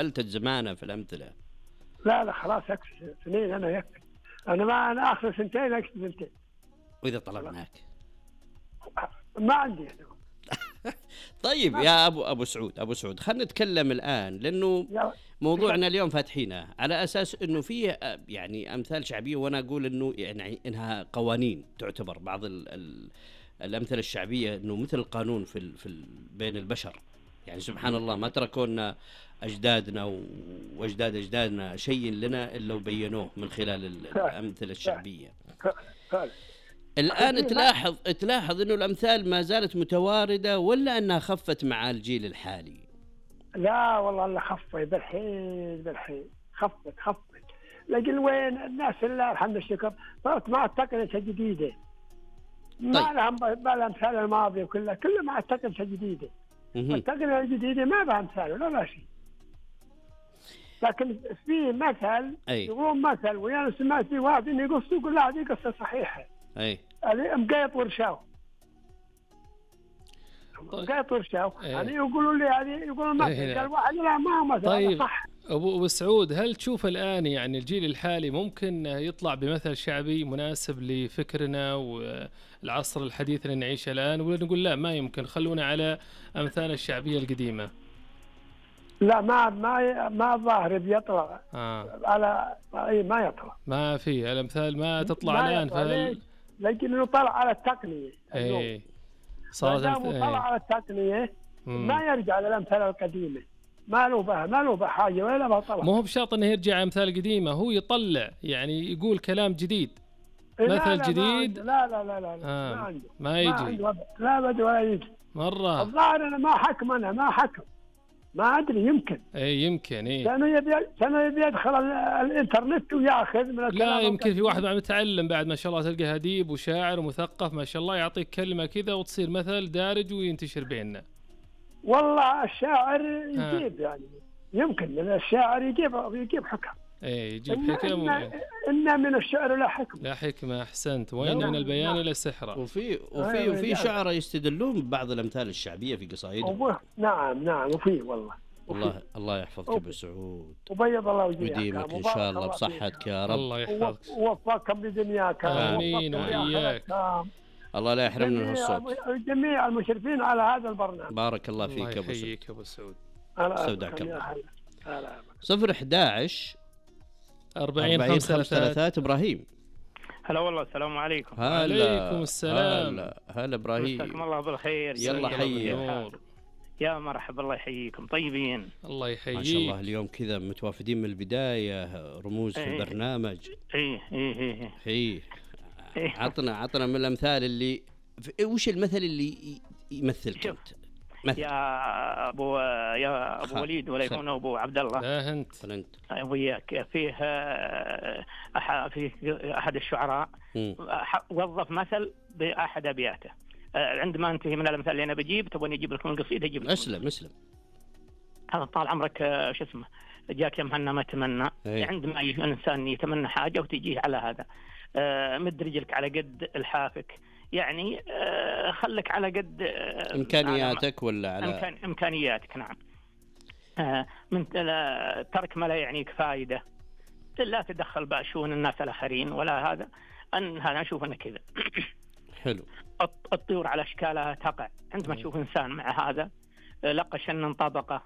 فلتت زمانه في الأمثلة. لا خلاص أكفي سنين، أنا يكفي. أنا آخر سنتين أكفي سنتين. وإذا طلبناك ما عندي أنا. طيب يا أبو سعود خلنا نتكلم الآن، لأنه موضوعنا اليوم فاتحينه على أساس أنه فيه يعني أمثال شعبية، وأنا أقول أنه يعني إنها قوانين تعتبر بعض الأمثلة الشعبية أنه مثل القانون في بين البشر. يعني سبحان الله ما تركونا أجدادنا وأجداد أجدادنا شيء لنا إلا وبينوه من خلال الأمثلة الشعبية. الآن تلاحظ أنه الأمثال ما زالت متواردة ولا أنها خفت مع الجيل الحالي؟ لا والله أنها خفت بالحين خفت. لكن وين الناس الله الحمد الشكر صارت مع التقنية الجديدة. ما لهم بالأمثال الماضية كلها مع التقنية الجديدة. التقنية الجديدة ما بها أمثال ولا شيء. لكن في مثل يقولون مثل، وأنا سمعت في واحد إنه يقول لا هذه قصة صحيحة. مقيط ورشاو يعني يقولوا لي هذه يقولون مثل، قال واحد لا ما هو مثل. طيب صح. أبو سعود، هل تشوف الآن يعني الجيل الحالي ممكن يطلع بمثل شعبي مناسب لفكرنا والعصر الحديث اللي نعيشه الآن، ولا نقول لا ما يمكن خلونا على أمثال الشعبية القديمة؟ لا ما ظاهر بيطلع على ما يطلع، ما في الأمثال ما تطلع الآن. لكن طلع على التقنية. صارت طلع على التقنية ما يرجع للأمثال القديمة. ما له به حاجة ولا ما طلع. مو بشرط انه يرجع امثال قديمة، هو يطلع يعني يقول كلام جديد مثل جديد. لا ما يجي. لا بد ولا يجي مرة. الظاهر أنا ما حكم ما أدري. يمكن يمكن كانوا يبي يدخل الإنترنت ويأخذ من الكلام. لا يمكن في واحد متعلم بعد ما شاء الله، تلقى أديب وشاعر ومثقف ما شاء الله يعطيك كلمة كذا وتصير مثل دارج وينتشر بيننا. والله الشاعر يجيب يعني يمكن الشاعر يجيب حكم. يجيب حكم. إن من الشعر لا حكمة. أحسنت. وين من البيان إلى السحرة. وفي شعراء يستدلون ببعض الأمثال الشعبية في قصائدهم. نعم وفي والله. الله يحفظك أبو سعود وبيض الله وجهك ويديمك إن شاء الله بصحتك يا رب. الله يحفظك ووفقكم لدنياك. آمين وإياك. الله لا يحرمنا من الصوت. جميع المشرفين على هذا البرنامج. بارك الله فيك أبو سعود. يحييك أبو سعود. استودعك الله. 011 40 5 إبراهيم. هلا والله. السلام عليكم. عليكم السلام. هلا إبراهيم. مساكم الله بالخير. يلا حي. يا مرحبا. الله يحييكم. طيبين. الله يحييك. ما شاء الله اليوم كذا متوافدين من البداية، رموز في البرنامج. ايه عطنا من الأمثال اللي وش المثل اللي يمثلك أنت؟ يا أبو وليد ولا يكون أبو عبد الله. لا أنت وياك. فيه أحد الشعراء وظف مثل بأحد أبياته. عندما انتهي من الأمثال اللي أنا بجيب تبغى أجيب لكم القصيدة أجيب لكم. أسلم. هذا طال عمرك شو اسمه جاك يا مهنا ما تمنى. عندما الإنسان يتمنى حاجة وتجيه على هذا مد رجلك على قد الحافك. يعني خلك على قد إمكانياتك ولا على إمكانياتك. نعم. من ترك ما لا يعنيك فائدة. لا تدخل بشؤون الناس الآخرين ولا هذا. أنا أشوف أنه كذا. حلو. الطيور على أشكالها تقع. عندما تشوف إنسان مع هذا لقى شن طبقة.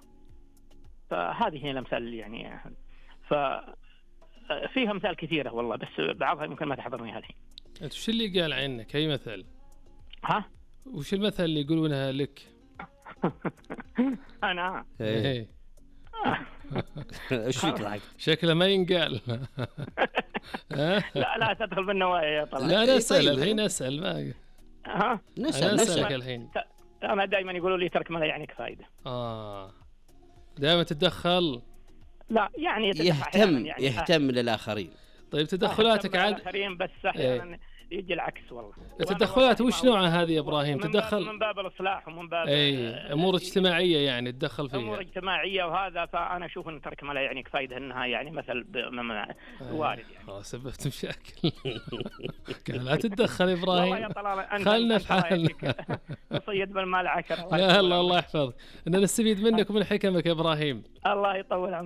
فهذه هي الأمثال يعني. فيها أمثال كثيرة والله، بس بعضها ممكن ما تحضرني هذه. أنت وش اللي قال عنك أي مثل؟ وش المثل اللي يقولونها لك؟ أنا ايش فيك ضحك؟ شكله ما ينقال. لا تدخل بالنوايا يا طلال. لا نسأل الحين. نسأل ما نسألك الحين. أنا دائما يقولوا لي ترك ما لا يعنيك فائدة. دائما تتدخل. لا يعني يهتم للآخرين. طيب تدخلاتك عاد الآخرين بس أحيانا يجي العكس والله. التدخلات وش نوعها هذه يا إبراهيم؟ تدخل من باب الإصلاح ومن باب أمور اجتماعية يعني تدخل فيها. أمور اجتماعية وهذا. فأنا أشوف أن ترك ما لا يعنيك فائدة أنها يعني مثل وارد يعني. سببت مشاكل. لا تتدخل إبراهيم. والله يا طلال خلنا في حالنا. نصيد بالمال 10. لا الله يحفظك. إننا نستفيد منك ومن حكمك يا إبراهيم. الله يطول عمرك.